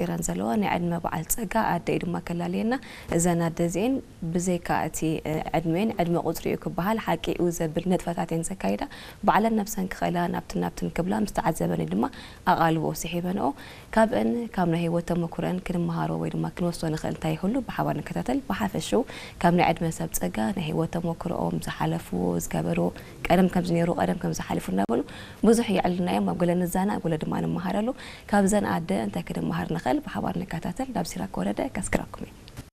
ኢረን ዘለዋ ናይ ዕድመ በዓል ጸጋ ኣደ እዩ ድማ ከላልየና። እዘን ኣደ እዚኤን ብዘይካ እቲ ዕድሜን ዕድመ ቁጽሪ እዩ ክበሃል ሓቂ እዩ ዘብል ንጥፈታት እየን ዘካይዳ። ባዕለን ነብሰን ክኽእላ ናብትን ናብትን ክብላ ምስ ተዓዘበን እዩ ድማ ኣቓልቦ ስሒበንኦ። ካብእን ካብ ናይ ህይወት ተመኩረን ክንመሃሮ ወይ ድማ ክንወስዶ ንኽእል እንታይ ይህሉ ብሓባር ንከታተል። ብሓፈሽው ካብ ናይ ዕድመ ሰብ ጸጋ ናይ ህይወት ተመኩሮኦም ዝሓለፍዎ ዝገበርዎ ቀደም ከምዚ ነይሩ ቀደም ከምዚ ሓሊፉ እናበሉ ብዙሕ የዕልልና እዮም። ኣብ ገለ ንዛና ኣብ ገለ ድማ ንመሃረሉ። ካብዘን ኣደ እንታይ ክንመሃር ንኽእል ብሓባር ንከታተል። ናብ ሲራክ ወረደ ከስክረኩም እየ።